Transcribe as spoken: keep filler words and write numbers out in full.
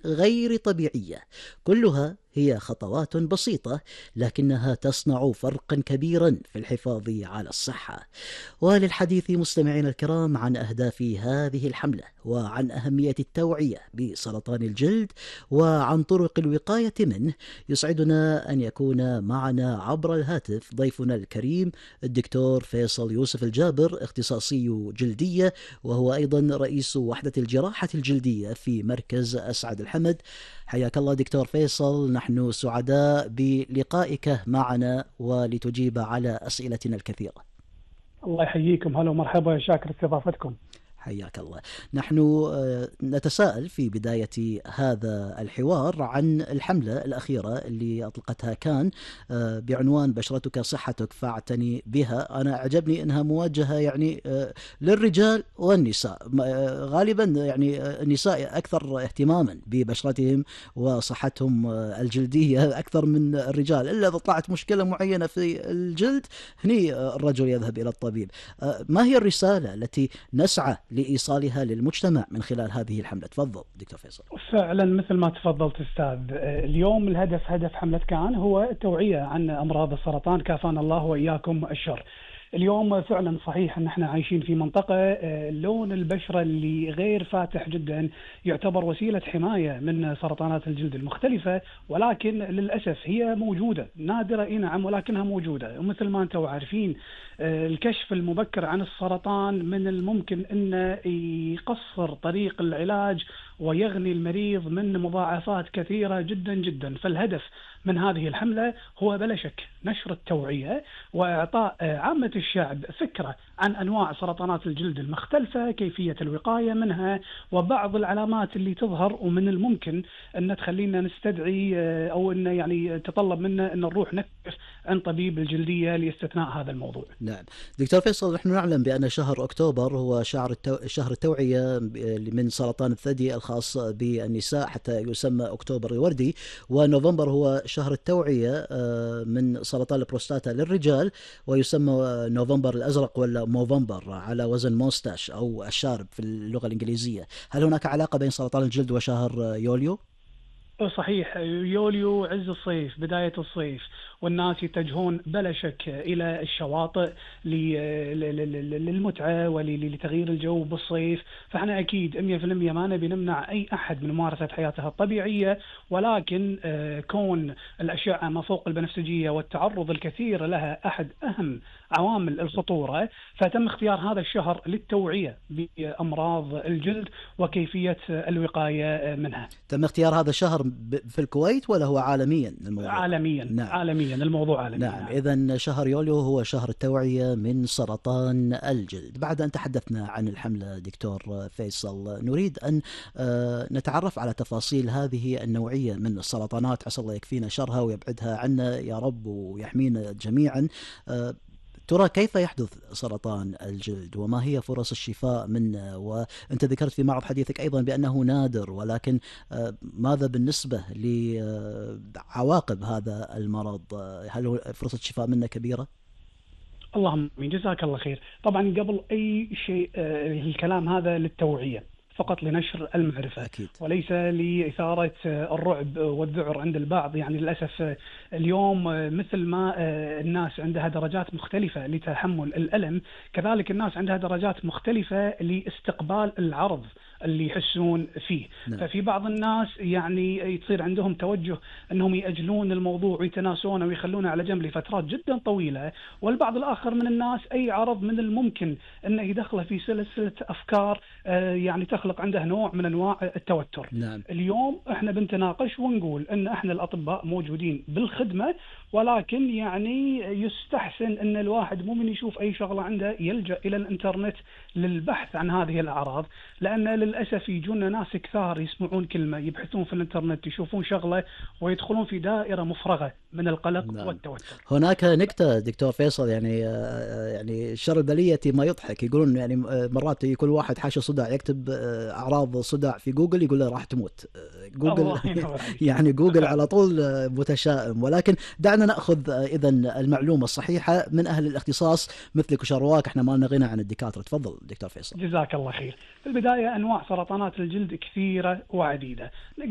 غير طبيعية. كلها هي خطوات بسيطة لكنها تصنع فرقا كبيرا في الحفاظ على الصحة. وللحديث مستمعينا الكرام عن أهداف هذه الحملة وعن أهمية التوعية بسرطان الجلد وعن طرق الوقاية منه، يسعدنا أن يكون معنا عبر الهاتف ضيفنا الكريم الدكتور فيصل يوسف الجابر، اختصاصي جلدية وهو أيضا رئيس وحدة الجراحة الجلدية في مركز أسعد الحمد. حياك الله دكتور فيصل، نحن سعداء بلقائك معنا ولتجيب على أسئلتنا الكثيرة. الله يحييكم، هلا ومرحبا، شاكر استضافتكم. حياك الله. نحن نتساءل في بداية هذا الحوار عن الحملة الأخيرة اللي أطلقتها كان بعنوان بشرتك صحتك فاعتني بها. أنا أعجبني أنها موجهة يعني للرجال والنساء، غالبا يعني النساء أكثر اهتماما ببشرتهم وصحتهم الجلدية أكثر من الرجال، إلا إذا طلعت مشكلة معينة في الجلد هني الرجل يذهب إلى الطبيب. ما هي الرسالة التي نسعى لإيصالها للمجتمع من خلال هذه الحملة؟ تفضل دكتور فيصل. فعلا مثل ما تفضلت أستاذ، اليوم الهدف هدف حملة كان هو التوعية عن أمراض السرطان، كافانا الله وإياكم الشر. اليوم فعلا صحيح ان احنا عايشين في منطقة لون البشرة اللي غير فاتح جدا يعتبر وسيلة حماية من سرطانات الجلد المختلفة، ولكن للأسف هي موجودة، نادرة اي نعم ولكنها موجودة. ومثل ما انتم عارفين الكشف المبكر عن السرطان من الممكن انه يقصر طريق العلاج ويغني المريض من مضاعفات كثيرة جدا جدا. فالهدف من هذه الحملة هو بلا شك نشر التوعية وإعطاء عامة الشعب فكرة عن أنواع سرطانات الجلد المختلفة، كيفية الوقاية منها، وبعض العلامات اللي تظهر ومن الممكن أن تخلينا نستدعي أو أن يعني تطلب منا أن نروح نكشف عن طبيب الجلدية لاستثناء هذا الموضوع. نعم دكتور فيصل، نحن نعلم بأن شهر أكتوبر هو شهر التو... شهر التوعية من سرطان الثدي الخاص بالنساء حتى يسمى أكتوبر الوردي، ونوفمبر هو شهر التوعية من سرطان البروستاتا للرجال ويسمى نوفمبر الأزرق ولا موفمبر على وزن موستاش أو الشارب في اللغة الإنجليزية. هل هناك علاقة بين سرطان الجلد وشهر يوليو؟ صحيح، يوليو عز الصيف، بداية الصيف، والناس يتجهون بلا شك إلى الشواطئ للمتعة ولتغيير الجو بالصيف. فاحنا أكيد مية بالمية ما نبي نمنع أي أحد من ممارسة حياتها الطبيعية، ولكن كون الأشعة ما فوق البنفسجية والتعرض الكثير لها أحد أهم عوامل الخطورة، فتم اختيار هذا الشهر للتوعية بأمراض الجلد وكيفية الوقاية منها. تم اختيار هذا الشهر في الكويت ولا هو عالميا الموضوع؟ عالميا. نعم. عالميا الموضوع عالميا. نعم. نعم. إذن شهر يوليو هو شهر التوعية من سرطان الجلد. بعد أن تحدثنا عن الحملة دكتور فيصل، نريد أن نتعرف على تفاصيل هذه النوعية من السرطانات، عسى الله يكفينا شرها ويبعدها عنا يا رب ويحمينا جميعا. ترى كيف يحدث سرطان الجلد وما هي فرص الشفاء منه؟ وأنت ذكرت في معرض حديثك أيضا بأنه نادر، ولكن ماذا بالنسبة لعواقب هذا المرض؟ هل فرصة الشفاء منه كبيرة؟ اللهم آمين، جزاك الله خير. طبعا قبل أي شيء الكلام هذا للتوعية فقط، لنشر المعرفة أكيد. وليس لإثارة الرعب والذعر عند البعض. يعني للأسف اليوم مثل ما الناس عندها درجات مختلفة لتحمل الألم، كذلك الناس عندها درجات مختلفة لاستقبال العرض اللي يحسون فيه. نعم. ففي بعض الناس يعني يصير عندهم توجه أنهم يأجلون الموضوع ويتناسونه ويخلونه على جنب لفترات جدا طويلة، والبعض الآخر من الناس أي عرض من الممكن أنه يدخله في سلسلة أفكار يعني تخلق عنده نوع من أنواع التوتر. نعم. اليوم احنا بنتناقش ونقول أن احنا الأطباء موجودين بالخدمة، ولكن يعني يستحسن أن الواحد مو من يشوف أي شغلة عنده يلجأ إلى الإنترنت للبحث عن هذه الأعراض، لأن للأسف يجونا ناس كثار يسمعون كلمة، يبحثون في الإنترنت، يشوفون شغلة ويدخلون في دائرة مفرغة من القلق. نعم. والتوتر. هناك نكتة دكتور فيصل، يعني يعني شر البلية ما يضحك، يقولون يعني مرات يكون واحد حاشا صداع يكتب أعراض صداع في جوجل يقول له راح تموت. جوجل يعني جوجل على طول متشائم. ولكن دعنا نأخذ إذن المعلومة الصحيحة من أهل الاختصاص مثلك وشرواك، احنا ما لنا غنى عن الدكاترة. تفضل دكتور فيصل. جزاك الله خير. في البداية أنواع انواع سرطانات الجلد كثيره وعديده. نقدر